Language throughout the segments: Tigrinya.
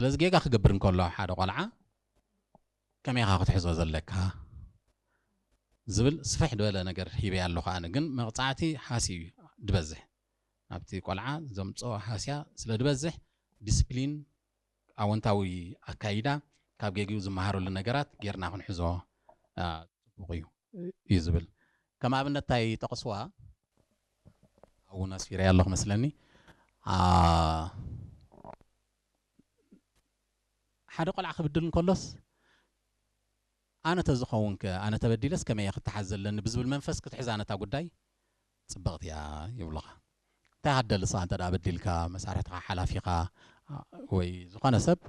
ስለዚ ጌጋ ክገብር እንከሎ ሓደ ቆልዓ ከመይ ኢኻ ክትሕዞ ዘለካ ዝብል ስፍሕ ዝበለ ነገር ሂበ ኣለኹ። ኣነ ግን መቕፃዕቲ ሃሲ እዩ ድበዝሕ፣ ናብቲ ቆልዓ ዘምፅኦ ሃስያ ስለ ድበዝሕ ዲስፕሊን፣ ኣወንታዊ ኣካይዳ፣ ካብ ጌግኡ ዝመሃረሉ ነገራት ጌርና ክንሕዞ አ፣ ፅቡቕ እዩ እዩ ዝብል። ከም ኣብነት እንታይ ጠቕስዋ? ኣብውን ኣስፊረ ኣለኹ መስለኒ። አ፣ ሓደ ቆልዓ ክብድል እንከሎስ ኣነ ተዝኸውን ከ፣ ኣነ ተበዲለስ ከመይ እየ ክተሓዝ ዘለኒ ብዝብል መንፈስ ክትሕዛ ነታ ጉዳይ ፅብቕቲ እያ ይብሉኻ። እንታይ ሃደሊ ንስኻ እንተ ደኣ በዲልካ፣ መሳርሕትኻ ሓላፊኻ ወይ ዝኾነ ሰብ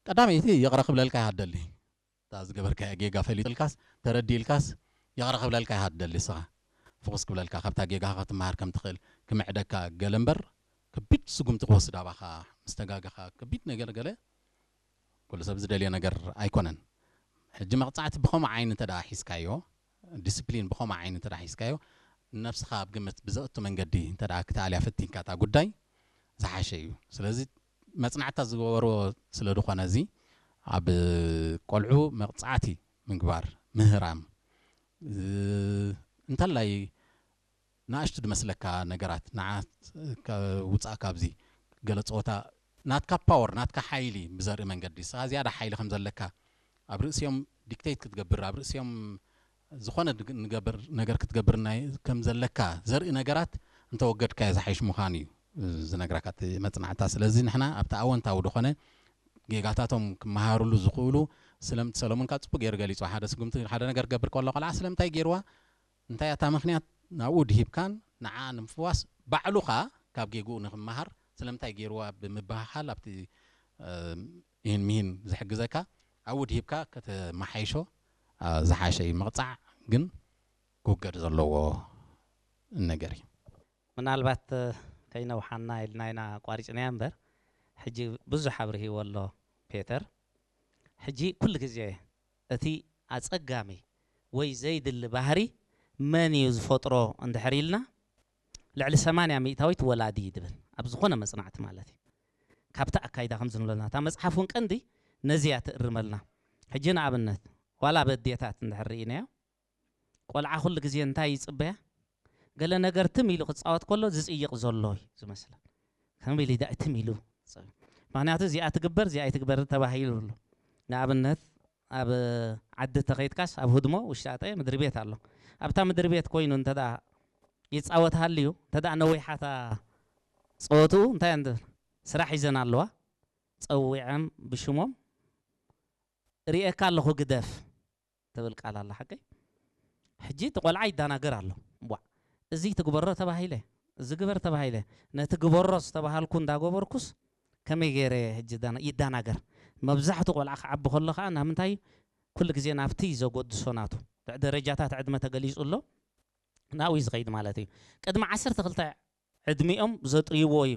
ቀዳመይቲ ይቕረ ክብለልካ ይሃደሊ። እታ ዝገበርካያ ጌጋ ፈሊጥልካስ ተረዲእልካስ ይቕረ ክብለልካ ይሃደሊ። ንስኻ ፍኹስ ክብለልካ፣ ካብታ ጌጋኻ ክትመሃር ከም ትኽእል ክምዕደካ ገለ እምበር፣ ከቢድ ስጉምቲ ክወስድ ኣባኻ ምስ ተጋገኻ ከቢድ ነገር ገለ ኩሉ ሰብ ዝደልዮ ነገር ኣይኮነን። ሕጂ መቕጻዕቲ ብኸምኡ ዓይኒ እንተ ደኣ ሒዝካዮ፣ ዲስፕሊን ብኸምኡ ዓይኒ እንተ ደኣ ሒዝካዮ፣ ንነብስኻ ኣብ ግምት ብዘእቱ መንገዲ እንተ ደኣ ክትኣልያ ፈቲንካ እታ ጉዳይ ዝሓሸ እዩ። ስለዚ መጽናዕትታት ዝገበርዎ ስለ ዝኾነ፣ እዚ ኣብ ቆልዑ መቕጻዕቲ ምግባር፣ ምህራም፣ እ፣ እንተላይ ንኣሽቱ ዝመስለካ ነገራት ንዓት ከ-፣ ውጻእ ካብዚ ገለ ጸወታ ናትካ ፓወር፣ ናትካ ሓይሊ ብዘርኢ መንገዲ፣ ንስኻ ዝያዳ ሓይሊ ከም ዘለካ ኣብ ርእሲኦም ዲክቴት ክትገብር፣ ኣብ ርእሲኦም ዝኾነ ድግ-፣ ንገብር፣ ነገር ክትገብር ናይ፣ ከም ዘለካ ዘርኢ ነገራት እንተወገድካዮ ዝሓይሽ ምዃኑ እዩ ዝነግረካ እቲ መጽናዕታ። ስለዚ ንሕና ኣብቲ ኣወንታዊ ዝኾነ ጌጋታቶም ክመሃሩሉ ዝኽእሉ ስለምቲ ሰሎሞን ካብ ጽቡቅ ገይሩ ገሊጹ። ሓደ ስጉምቲ፣ ሓደ ነገር ክገብር ከሎ ቆልዓ ስለምንታይ ገይርዋ፣ እንታይ እታ ምኽንያት ናብኡ ድሂብካን ንዓ ንምፍዋስ ባዕሉ ኸኣ ካብ ጌግኡ ንኽመሃር ስለምንታይ ገይርዋ ብምብህሃል ኣብቲ፣ እ፣ ይህን ሚህን ዝሕግዘካ ኣብኡ ድሂብካ ከተመሓይሾ፣ እ፣ ዝሓሸ እዩ። ምቕጻዕ ግን ክውገድ ዘለዎ ነገር እዩ። ምናልባት፣ እ፣ ከይነውሓና ኢልና ኢና ኣቋሪጽናያ እምበር፣ ሕጂ ብዙሕ ኣብርሂዎ ኣሎ ፔተር። ሕጂ ኩሉ ግዜ እቲ ኣጸጋሚ ወይ ዘይድሊ ባህሪ መን እዩ ዝፈጥሮ እንድሕር ኢልና፣ ልዕሊ ሰማንያ ሚእታዊት ወላዲ እዩ ድብል፣ ኣብ ዝኾነ መጽናዕቲ ማለት እዩ። ካብቲ ኣካይዳ ከም ዝንብለና፣ እታ መጽሓፍ እውን ቀንዲ ነዚ እያ ትእርመልና። ሕጂ ንኣብነት፣ ዋላ በዴታት እንድሕር ርኢናዮ፣ ቆልዓ ኩሉ ግዜ እንታይ ይጽበያ? ገለ ነገር ትም ኢሉ ክጻወት ከሎ ዝጽይቕ ዘሎ እዩ ዝመስለን። ከም ኢሉ ዳ-፣ ትም ኢሉ። ምኽንያቱ እዚኣ ትግበር፣ እዚኣ ኣይትግበር ተባሂሉ ኣሎ። ንኣብነት፣ ኣብ ዓዲ ተኸይድካስ፣ ኣብ ህድሞ ውሽጣጠ ምድሪ ቤት ኣሎ። ኣብታ ምድሪ ቤት ኮይኑ እንተ ደኣ ይጻወት ሃልዩ፣ እንተ ደኣ ነዊሓታ ጸወትኡ፣ እንታይ እንደ-፣ ስራሕ ሒዘን ኣለዋ። ጸዊዐም ብሽሞም፣ "ርእየካ ኣለኹ፣ ግደፍ" ትብል ቃል ኣላ፣ ሓቀይ? ሕጂ እቲ ቆልዓ ይዳናገር ኣሎ። "ዋዕ፣ እዚ ትግበሮ ተባሂለ፣ እዚ ግበር ተባሂለ፣ ነቲ ግበሮ ዝተባሃልኩ እንዳገበርኩስ ከመይ ገይረ?" ሕጂ ዳና-፣ ይዳናገር። መብዛሕቱ ቆልዓ ክዓቢ ከሎ ከኣ ናብ ምንታይ? ኩሉ ግዜ ናብቲ ዘጎድሶ ናቱ። ድ-፣ ደረጃታት ዕድመ ተገሊጹ ኣሎ። ናብኡ እዩ ዝኸይድ ማለት እዩ። ቅድሚ ዓሰርተ ክልተ ዕድሚኦም ዘጥርይዎ እዩ።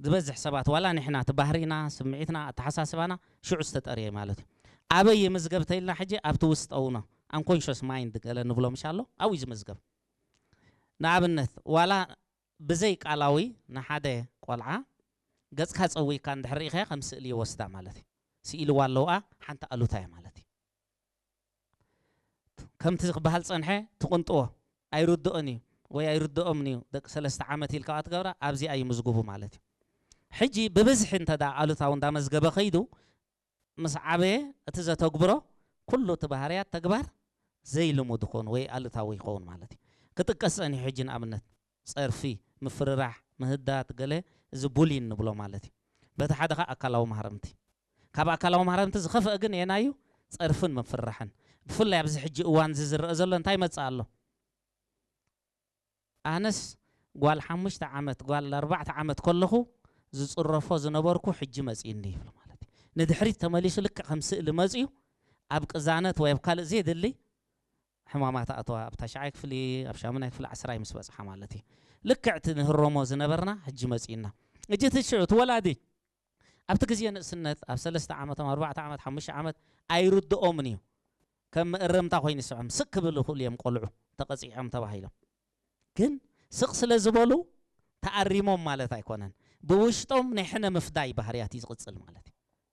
ዝበዝሕ ሰባት፣ ዋላ ንሕና፣ እቲ ባህሪና፣ ስምዒትና፣ ኣተሓሳስባና ሽዑ ዝተጠርየ ማለት እዩ። ኣበይ ይምዝገብ ተኢልና፣ ሕጂ ኣብቲ ውስጠውና፣ ኣንኮንሽስ ማይንድ ገለ ንብሎ ምሽ ኣሎ፣ ኣብኡ እዩ ዝምዝገብ። ንኣብነት፣ ዋላ ብዘይ ቃላዊ ንሓደ ቆልዓ ገጽካ ጸዊካ እንድሕር ርኢኻዮ፣ ከም ስእሊ ይወስዳ ማለት እዩ። ስኢልዋ ኣለውኣ፣ ሓንቲ ኣሉታ እያ ማለት እዩ። ከምቲ ክበሃል ጸንሐ፣ ትቕንጥዎ፣ ኣይርድኦን እዩ ወይ ኣይርድኦምን እዩ፣ ደቂ ሰለስተ ዓመት ኢልካ ትገብራ፣ ኣብዚኣ ይምዝግቡ ማለት እዩ። ሕጂ ብብዝሒ እንተ ደኣ ኣሉታዊ እንዳመዝገበ ከይዱ፣ ምስ ዓበየ እቲ ዘተግብሮ ኩሉ እቲ ባህርያት ተግባር ዘይልሙድ ይኸውን ወይ ኣሉታዊ ይኸውን ማለት እዩ። ክጥቀስ ጸኒሑ ሕጂ ንኣብነት ጸርፊ፣ ምፍርራሕ፣ ምህዳት፣ ገለ፣ እዚ ቡሊን ንብሎ ማለት እዩ። በቲ ሓደ ኸኣ ኣካላዊ ማህረምቲ። ካብ ኣካላዊ ማህረምቲ ዝኸፍአ ግን የናዩ? ጸርፍን ምፍርራሕን። ብፍላይ ኣብዚ ሕጂ እዋን እዚ ዝረአ ዘሎ እንታይ ይመጽእ ኣሎ? ኣነስ ጓል ሓሙሽተ ዓመት፣ ጓል ኣርባዕተ ዓመት ከለኹ ዝጽረፎ ዝነበርኩ ሕጂ መጺእኒ ይብሉ ማለት እዩ። ንድሕሪት ተመሊሱ ልክዕ ከም ስእሊ መጺኡ ኣብ ቅዛነት ወይ ኣብ ካልእ ዘየድሊ ሕማማት ኣተዋ። ኣብ ታሽዓይ ክፍሊ፣ ኣብ ሻሙናይ ክፍሊ፣ ዓስራይ ምስ በጽሓ ማለት እዩ። ልክዕ እቲ ንህረሞ ዝነበርና ሕጂ መጺእና። ሕጂ እቲ ሽዑ እቲ ወላዲ ኣብቲ ግዜ ንእስነት ኣብ ሰለስተ ዓመቶም፣ ኣርባዕተ ዓመት፣ ሓሙሽተ ዓመት ኣይርድኦምን እዩ። ከም መእረምታ ኮይኑ ይስዖም። ስቅ ክብል ይኽእሉ እዮም ቆልዑ ተቐጺዖም ተባሂሎም። ግን ስቅ ስለ ዝበሉ ተኣሪሞም ማለት ኣይኮነን። ብውሽጦም ናይ ሕነ ምፍዳይ ባህርያት እዩ ዝቕጽል ማለት እዩ።